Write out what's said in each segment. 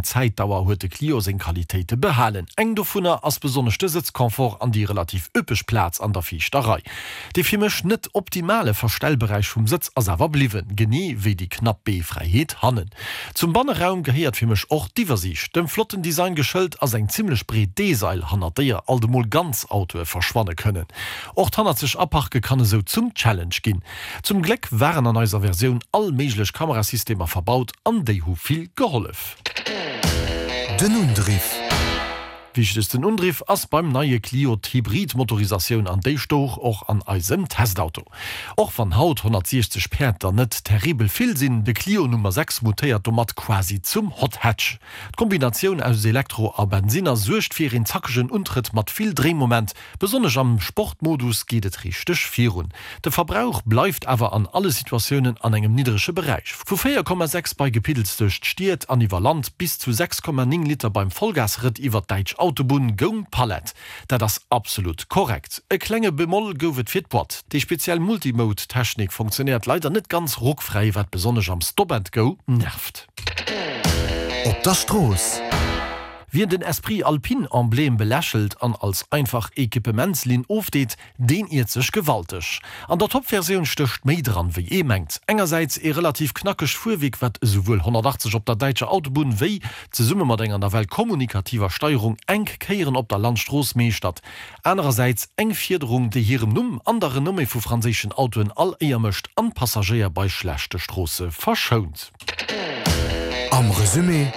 laang Zäitdauer huet de Clio seng Qualitéite behalen. Eng dovunner ass besonnesch de Sëtzconfort an déi relativ üppeg Plaz an der viischter Rei. Dee fir mech net optimale Verstellberäich vum Sëtz ass awer bliwwen, genee wéi déi knapp Beefräiheet hannen. Zum Banneraum gehéiert fir mech och d'Iwwersiicht. Dem flotten Design geschëlt ass eng zimmlech breet D-Sail, hannert déier alt emol ganz Autoe verschwanne kënnen. Och d'hannerzeg Aparke kann esou zum Challenge ginn. Zum Gléck waren an eiser Versioun all méiglech Kamerasystemer verbaut an déi hu vill gehollef. Den Undriff. Wichtegsten Undriff ass beim neie Clio d'Hybrid-Motorisatioun an déi stouch och an eisem Testauto. Och wann haut 160 Päerd der net terribel vill sinn, de Clio Nummer 6 mutéiert domat quasi zum Hot Hatch. D'Kombinatioun aus Elektro a Bensinner suergt fir een zackegen Untrëtt mat vill Dréimoment, Besonnesch am Sportmodus geet et richteg virun. De Verbrauch bleift awer an alle Situatiounen an engem niddrege Beräich, vu 4,6 bei Gepiddels duerch d'Stied an iwwer Land bis zu 6,9 Liter beim Vollgasrëtt iwwer d'däitsch Autobunn, goung d'Palett. Dat ass absolut korrekt. E klenge Bemoll gouf et fir d'Boîte. Déi speziell Multimode-Technik funktionéiert leider net ganz ruckfräi, wat besonnesch am Stop-and-Go nervt. Op der Strooss. Wien den Esprit Alpine Emblème belächelt an als einfach Equippementslinn ofdeet, deen iert sech gewalteg. An der Top-Versioun stécht méi dran, wéi ee mengt. Engersäits ee relativ knackegt Fuerwierk, wat esouwuel 180 op der däitscher Autobunn wéi, zesumme mat enger nawell kommunikativer Steierung, enk Kéieren op der Landstrooss meeschtert. Anerersäits eng Fiederung, déi hirem Numm an der Renommée vu franséischen Autoen all Éier mécht an d'Passagéier bei schlechte Stroosse verschount. Am Resumé.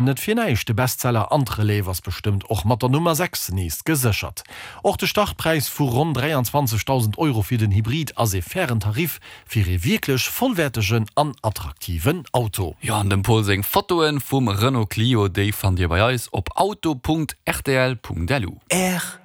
Net fir näischt, de Bestseller an d'Relève ass bestëmmt och mat der Nummer 6 nees geséchert. Och de Startpräis vu ronn 23.000 Euro fir den Hybrid ass ee fairen Tarif fir ee wierklech vollwäertegen an attraktiven Auto. Jo, an dem Paul seng Fotoen vum Renault Clio, déi fannt dir bei eis op auto.rtl.lu. R.